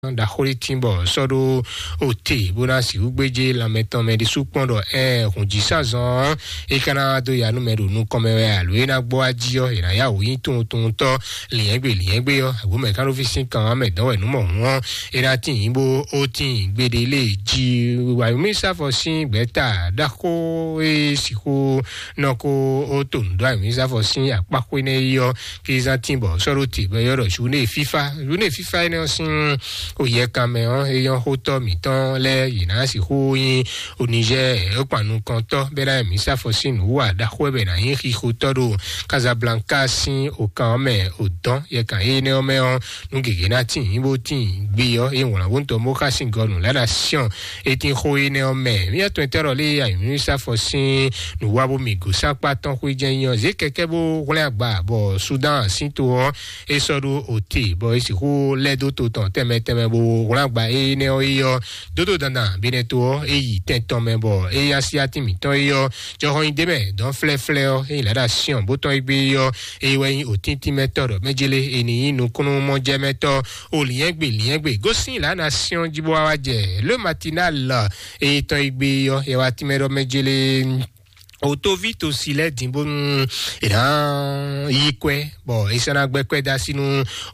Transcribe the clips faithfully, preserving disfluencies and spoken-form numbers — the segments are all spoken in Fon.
ɖaxó ɖé tín bɔ sɔ́ ɖó ote bó ná sixú gbéjé lanmɛ tɔn mɛ ɖésú kpɔ́n ɖɔ ɛ hǔn jí sázɔn é ka ná dó ya nú mɛ ɖo nukɔn mɛ wɛ alo é ná gbɔ wá jí ɔ́, è nǎ yá wǔ nyí tunwuntunwuntɔ́ lǐnyɛ́gbe lǐnyɛ́gbe ɔ́, àbó mɛ ká nɔ fí sín kan ɔ́ mɛ dɔ̌n wɛ nǔ mɔ hǔn ɔ́, é ná tín nyí bó ó tín gbeɖé lé jí wayomísafɔ sín gbɛ̌ta ɖaxó e sixú nɔ kó ó to nǔ dó ayomísafɔ sín akpáxwé nɛ́ é ɔ́, kí zán tín bɔ sɔ́ ɖó te bɔ é ylɔ́ ɖɔ journée fifa. Journée fifa énɛ́ ɔ́ sín oyɛkan mɛ ɔ́, é nyɔ́ xótɔ́ mǐtɔn lɛ́ɛ yě ná sixú nyí onizɛ́ é kpan nukɔntɔ́ bɛ́ ná mǐ sáfɔ sín nǔ wa ɖaxó wɛ bɛ ná nyí xixotɔ́ ɖo Casablanca sín okan ɔ́ mɛ. Odɔn yɛkan énɛ́ ɔ́ mɛ ɔ́, nú gěgé ná tín nyí bó tín gbe ɔ́, é wlǎn bó tɔn bó xá sín gɔnu lɛ́ ná siɔn é tín xó énɛ́ ɔ́ mɛ. Mía tɔn tɛ́ ɖɔ lé ayǐmísafɔ sín nǔwá bó mi gǒ sákpá tɔn xwé jɛ́n nyí ɔ́, zě kɛkɛ́ bó hwlɛ́n agba bɔ Sudan sín to ɔ́ é sɔ́ ɖó ote bɔ é sixú lɛ́ dó to tɔn tɛnmɛ tɛnmɛ bó hwlɛ́n agba énɛ́ ɔ́ é ɔ́ dódó dandan Benɛto ɔ́ é yi tɛn tɔn mɛ bɔ é yá sí atín mǐtɔn é ɔ́ jɔxɔ nyi d'é mɛ dɔn flɛ́flɛ́ ɔ́ é yi lɛ̌ ɖo asyɔn bó tɔn é gbé é ɔ́ é wɛ nyí òtíntín mɛtɔ́ ɖɔ mɛjélé é ní nyí nukúnnú mɔjɛmɛtɔ́ o lǐnyɛ́gbe lǐnyɛ́gbe gosín lǎ ná syɔ́n jí bó wá wá jɛ le matinal é tɔn é gbé é ɔ́ é wá tínmɛ ɖɔ mɛjélé o tóví tosi lɛ́ɛ dín bónú è nǎ yí kwɛ́ bɔ è sɔ́ ná gbɛ́ kwɛ́ dó así nú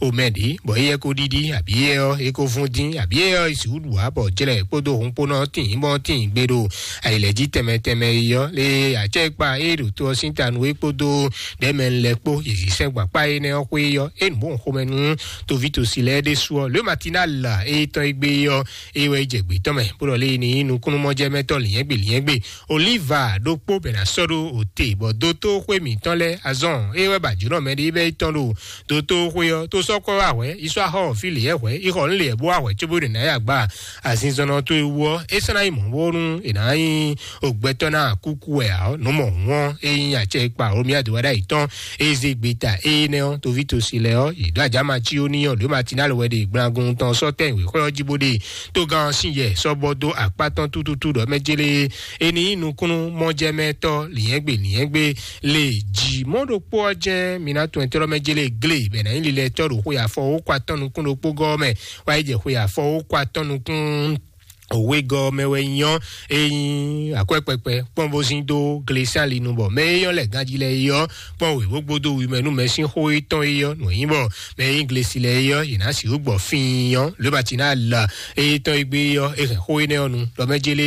omɛ ɖě bɔ éyɛ́ ko ɖiɖi abǐ éyɛ́ ɔ́ é ko vún dín abǐ éyɛ́ ɔ́ é sixú ɖu ǎ bɔ jlɛ kpódó hun kpó nɔ tín bɔ tín gbe ɖo ayǐlɛ́jí tɛnmɛ tɛnmɛ é ɔ́ lé acɛ́ kpa é ɖo to ɔ́ sín ta nú é kpódó ɖɛ̌mɛ lɛ́ kpó yě zí sɛ́n gbǎkpá énɛ́ ɔ́ xwé é ɔ́ é nǔ bó xomɛ nú tóví tosi lɛ́ɛ ɖésú ɔ́ le matinal é tɔn é gbé é ɔ́ é wɛ é jɛ gbě tɔn mɛ bó ɖɔ lé ní nukúnnú mɔjɛmɛtɔ́ lǐnyɛ́gbe lǐnyɛ́gbe Oliva ɖokpó bɛ ná sɔ́ ɖó òte bɔ dótóxwé mǐtɔn lɛ́ɛ azɔn é wɛ ba jǒnɔ mɛ ɖé bɛ yi tɔn ɖo dótóxwé ɔ́ tó sɔ́ kɔ wá hwɛ̌ yi sɔ́ axɔ fí lě yɛ hwɛ̌ yi xɔ nú lě yɛ bó wá hwɛ̌ cóbó ɖe ná yi agba azinzɔnnɔ tó e wú ɔ́ é sɔ́ ná yi mɔ̌ bónú è nǎ nyí ògbɛtɔ́ ná kúkú wɛ ǎ ɔ́ nǔ mɔ hǔn ɔ́ é nyí acɛ e kpa Romia dó wá ɖ'ayǐ tɔn é zé gbeta énɛ́ ɔ́ toví tosi lɛ ɔ́ yě ɖó ajǎma cí ó ní ɔ́ lǒ matinál wɛ ɖe gblangun tɔn sɔ́ tɛ́n wěxɔ́ ɔ́ jí bó ɖe tógán ɔ́ sín yɛ sɔ́ bɔ dó akpá tɔn tútútú ɖɔ mɛ jélé é ní nyí nukúnnú mɔjɛmɛtɔ́ lǐnyɛ́gbe lǐnyɛ́gbe lě jí mɔ̌ ɖokpó ɔ́ jɛ́n mi ná tunwun ɛtɔ́ mɛ jélé glé bɛ ná nyí lilɛtɔ́ ɖo xwe afɔ wó kɔ atɔ́ nukún ɖokpó gɔ́ mɛ wá yi jɛ xwe afɔ wó kɔ atɔ́ nukún òwegɔ́ mɛ wɛ nyɔ́ é nyí akwɛ́kpɛkpɛ kpɔ́n bó zín dó glesán linu bɔ mɛ é nyɔ́ lɛ ganjí lɛ é ɔ́ kpɔ́n wěwó gbódó wi mɛ nú mɛ sín xó étɔn é ɔ́ nǔ nyí bɔ mɛ e nyí glesi lɛ é ɔ́ yě ná sixú gbɔ fíin ɔ́ lóbati ná la é tɔn é gbé ɔ́ é hɛn xó énɛ́ ɔ́ nu ɖɔ mɛ jélé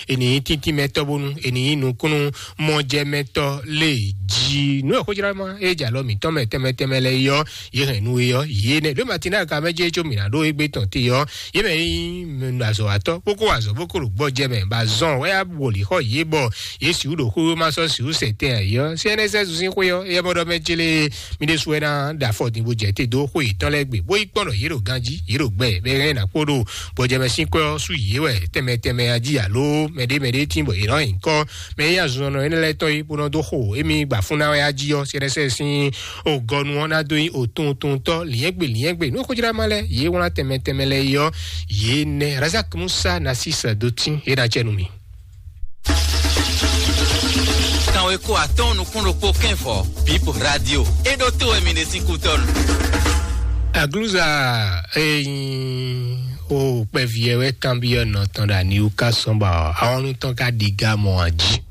é ní nyí tíntímɛtɔ́ bónú é ní nyí nukúnnú mɔjɛmɛtɔ́ lé jí nú ɛ xójlá ma é jɛ alɔ mǐtɔn mɛ tɛnmɛ tɛnmɛ lɛ é ɔ́ yě hɛn nú é ɔ́ yě nɛ́ lóbati ná ka mɛ jẹ́ có mǐ ná ɖó égbé tɔn te ɔ́ yě mɛ nyí azɔ̌watɔ́ kpókó azɔ̌ bó kó ɖo gbɔjɛ mɛ ba zɔn wɛ á wòlí xɔ yě bɔ yě sixú ɖo xwé ma sɔ́ sixú sɛ tɛn ayǐ ɔ́ cnssu sín xwé ɔ́ yɛ bɔ ɖɔ mɛ jélé mi ɖésú wɛ ná ɖo afɔ din bó jɛ te dó xwé yětɔn lɛ́ɛ gbe bó yi kpɔ́n ɖɔ yě ɖo ganjí yě ɖo gbɛ bɛ hɛn ná kpó ɖo gbɔjɛ mɛ sín kwɛ́ ɔ́ sú yě wɛ tɛnmɛ tɛnmɛ ají alo mɛɖé mɛɖé tín bɔ yě nɔ nyi kɔ́ mɛ nyí azɔnɔ énɛ́ lɛ́ɛ tɔn yi bó nɔ dó xo émi gba fún ná wɛ ají ɔ́ cnssu sín ògɔnu ɔ́ ná dó nyí òtuntutɔ lǐnyɛ́gbe lǐnyɛ́gbe nú xójlá ma lɛ́ɛ yě wlán tɛnmɛ tɛnmɛ lɛ́ɛ yi ɔ́ yě nɛ́ razak musa nasis dó tín é ná jɛ nú mi. Kanweko atɔn nukún ɖokpó kɛnfɔ Bip Radio é ɖó tó wɛ mi ɖe sín kútɔnu. Agluza eyin o kpɛviɛ wɛ kanbiɔ nɔ tɔn ɖo aniwu ka sɔn ba awɔnu tɔn ka ɖi ga mɔ aji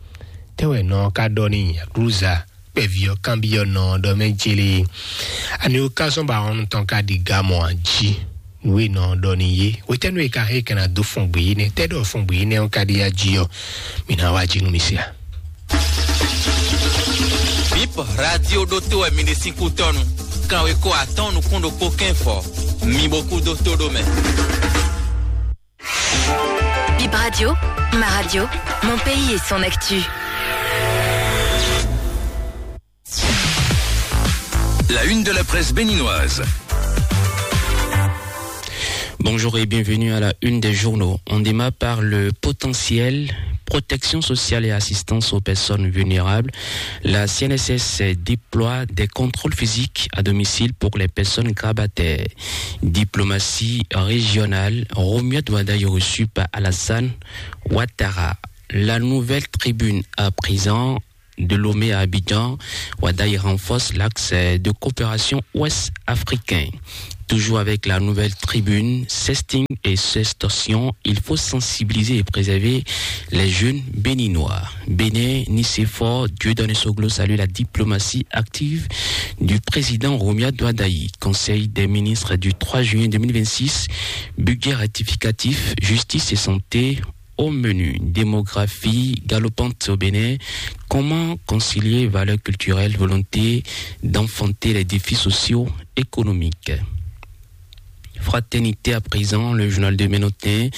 tɛwɛ nɔ ka ɖɔ ni agluza kpɛviɔ kanbiɔ nɔ ɖɔ mɛ jele aniwu ka sɔn ba awɔnu tɔn ka ɖi ga mɔ aji nǔ e nɔ ɖɔ n'i é. Hwetɛ́nu e ka hɛn kɛn ná dó fɔn gbě yi nɛ́? Tɛ́ ɖɔ fɔn gbě yi nɛ́ ɔ́ ka ɖi ya jí ɔ́, mǐ ná wá jí nú mi se a? Bip Radio ɖótó wɛ mi ɖe sín kútɔnu. Kanweko atɔ́ɔ́n nukún ɖokpó kɛ́n fɔ. Mi bo kú dó tó ɖó mɛ. Bip Radio, ma radio, mon pays et son actu. La une de la presse béninoise. Bonjour et bienvenue à la une des journaux. On démarre par le potentiel protection sociale et assistance aux personnes vulnérables. La C N S S déploie des contrôles physiques à domicile pour les personnes grabataires. Diplomatie régionale, Romuald Wadagni reçu par Alassane Ouattara. La nouvelle tribune à présent de Lomé à Abidjan, Wadagni renforce l'axe de coopération ouest-africain. Toujours avec la nouvelle tribune, sexting et sextorsion, il faut sensibiliser et préserver les jeunes béninois. Bénin, Nicéphore Dieudonné Soglo salue la diplomatie active du président Romuald Wadagni. Conseil des ministres du trois juin deux mille vingt-six, budget rectificatif, justice et santé au menu. Démographie galopante au Bénin, comment concilier valeurs culturelles, volonté d'enfanter les défis socio-économiques ? Fraternité à présent, le journal de Ménotin.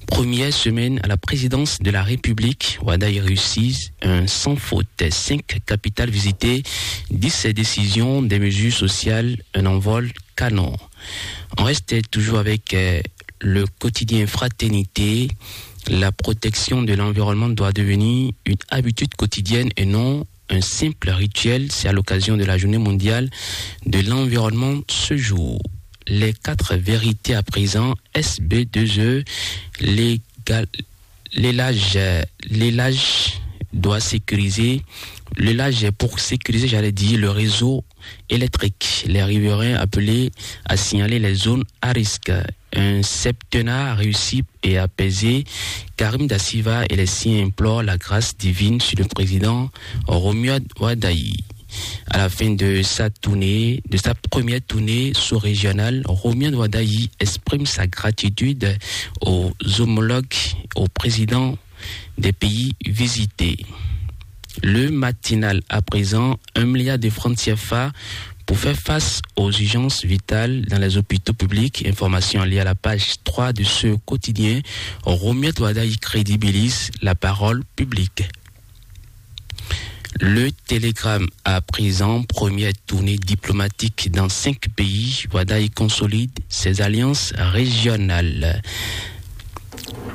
Première semaine à la présidence de la République, Wadagni réussit un sans faute. Cinq capitales visitées, dix décisions, des mesures sociales, un envol canon. On reste toujours avec euh, le quotidien Fraternité. La protection de l'environnement doit devenir une habitude quotidienne et non un simple rituel. C'est à l'occasion de la journée mondiale de l'environnement ce jour. Les quatre vérités à présent, S B deux E, légal-, l'élage, euh, l'élage doit sécuriser, l'élage pour sécuriser, j'allais dire, le réseau électrique. Les riverains appelés à signaler les zones à risque. Un septennat réussi et apaisé. Karim Da Silva et les siens implorent la grâce divine sur le président Romuald Wadagni. À la fin de sa tournée, de sa première tournée sous-régionale, Romuald Wadagni exprime sa gratitude aux homologues, aux présidents des pays visités. Le Matinal à présent, un milliard de francs C F A pour faire face aux urgences vitales dans les hôpitaux publics. Information liée à la page trois de ce quotidien. Romuald Wadagni crédibilise la parole publique. Le Télégramme à présent, première tournée diplomatique dans cinq pays. Wadagni consolide ses alliances régionales.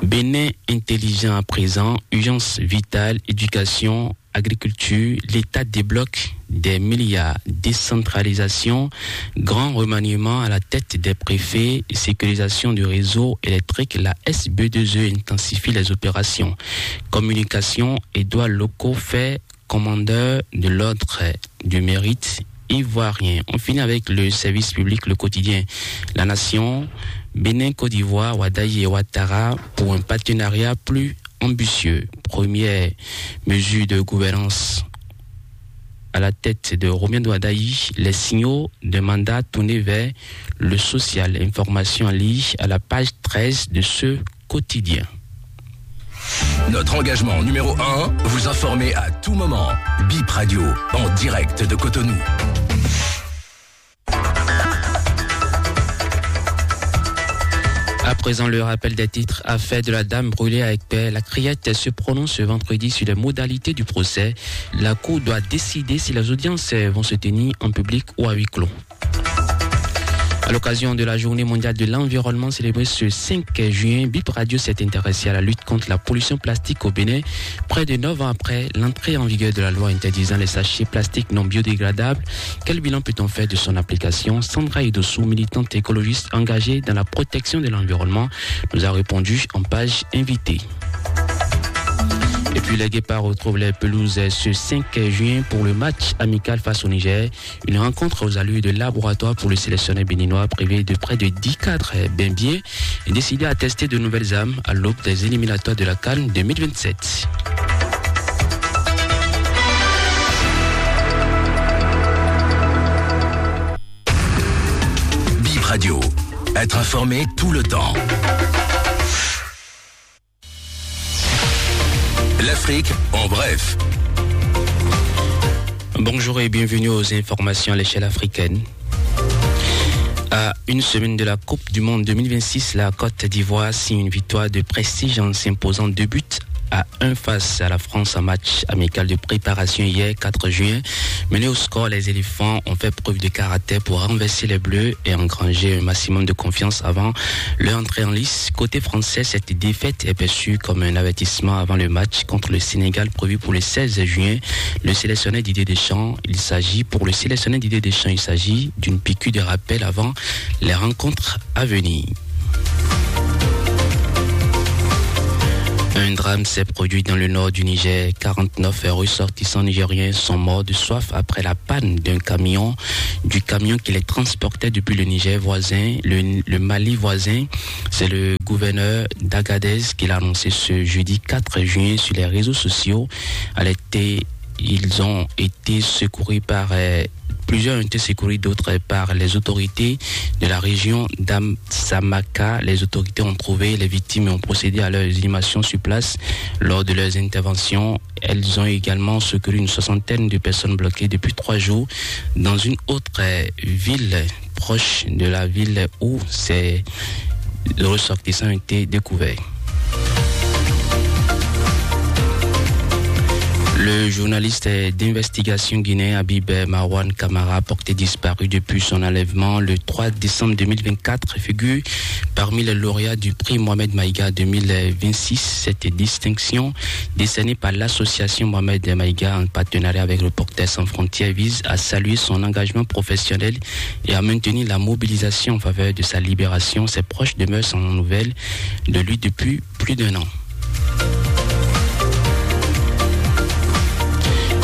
Bénin intelligent à présent, urgence vitale, éducation, agriculture, l'État débloque des milliards, décentralisation, grand remaniement à la tête des préfets, sécurisation du réseau électrique, la S B deux E intensifie les opérations. Communication, Édouard Loko fait commandeur de l'ordre du mérite ivoirien. On finit avec le service public, le quotidien La Nation. Bénin, Côte d'Ivoire, Wadagni et Ouattara pour un partenariat plus ambitieux. Première mesure de gouvernance à la tête de Romuald Wadagni, les signaux de mandat tournés vers le social. Information à lire à la page treize de ce quotidien. Notre engagement numéro un, vous informer à tout moment. Bip Radio, en direct de Cotonou. À présent, le rappel des titres. Affaire de la dame brûlée à Aiguebert. La Criette se prononce ce vendredi sur les modalités du procès. La Cour doit décider si les audiences vont se tenir en public ou à huis clos. À l'occasion de la journée mondiale de l'environnement célébrée ce cinq juin, Bip Radio s'est intéressé à la lutte contre la pollution plastique au Bénin, près de neuf ans après l'entrée en vigueur de la loi interdisant les sachets plastiques non biodégradables. Quel bilan peut-on faire de son application ? Sandra Idossou, militante écologiste engagée dans la protection de l'environnement, nous a répondu en page invitée. Et puis les Guépards retrouvent les pelouses ce cinq juin pour le match amical face au Niger. Une rencontre aux allures de laboratoire pour le sélectionneur béninois, privé de près de dix cadres, eh bien, bien, et décidé à tester de nouvelles armes à l'aube des éliminatoires de la CAN deux mille vingt-sept. Bip Radio, être informé tout le temps. L'Afrique en bref. Bonjour et bienvenue aux informations à l'échelle africaine. À une semaine de la Coupe du Monde deux mille vingt-six, la Côte d'Ivoire signe une victoire de prestige en s'imposant deux buts à un face à la France en match amical de préparation hier quatre juin. Menés au score, les éléphants ont fait preuve de caractère pour renverser les Bleus et engranger un maximum de confiance avant leur entrée en lice. Côté français, cette défaite est perçue comme un avertissement avant le match contre le Sénégal prévu pour le seize juin. Le sélectionneur Didier Deschamps, il s'agit pour le sélectionneur Didier Deschamps, il s'agit d'une piqûre de rappel avant les rencontres à venir. Un drame s'est produit dans le nord du Niger. Quarante-neuf ressortissants nigériens sont morts de soif après la panne d'un camion, du camion qui les transportait depuis le Niger voisin, le, le Mali voisin. C'est le gouverneur d'Agadez qui l'a annoncé ce jeudi quatre juin sur les réseaux sociaux. À l'été, ils ont été secourus par, euh, plusieurs ont été secourus, d'autres par les autorités de la région d'Amsamaka. Les autorités ont trouvé les victimes et ont procédé à leur inhumation sur place. Lors de leurs interventions, elles ont également secouru une soixantaine de personnes bloquées depuis trois jours dans une autre, euh, ville proche de la ville où ces ressortissants ont été découverts. Le journaliste d'investigation guinéen Habib Marwan Kamara, porté disparu depuis son enlèvement le trois décembre deux mille vingt-quatre, figure parmi les lauréats du prix Mohamed Maïga deux mille vingt-six. Cette distinction, décernée par l'association Mohamed Maïga en partenariat avec Reporters sans frontières, vise à saluer son engagement professionnel et à maintenir la mobilisation en faveur de sa libération. Ses proches demeurent sans nouvelles de lui depuis plus d'un an.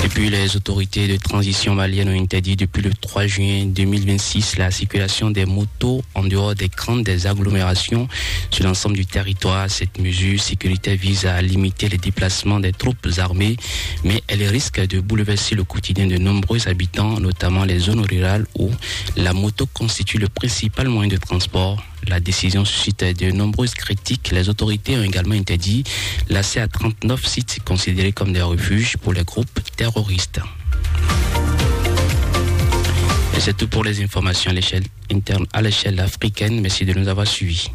Et puis, les autorités de transition maliennes ont interdit depuis le trois juin deux mille vingt-six la circulation des motos en dehors des grandes agglomérations sur l'ensemble du territoire. Cette mesure sécuritaire vise à limiter les déplacements des troupes armées, mais elle risque de bouleverser le quotidien de nombreux habitants, notamment les zones rurales où la moto constitue le principal moyen de transport. La décision suscite de nombreuses critiques. Les autorités ont également interdit l'accès à trente-neuf sites considérés comme des refuges pour les groupes terroristes. Et c'est tout pour les informations à l'échelle interne, à l'échelle africaine. Merci de nous avoir suivis.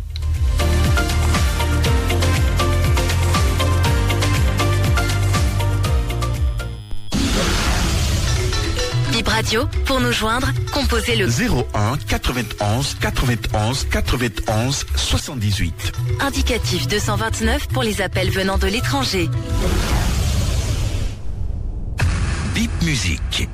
Bip Radio, pour nous joindre, composez le zéro un quatre-vingt-onze quatre-vingt-onze soixante-dix-huit. Indicatif deux cent vingt-neuf pour les appels venant de l'étranger. Bip Musique.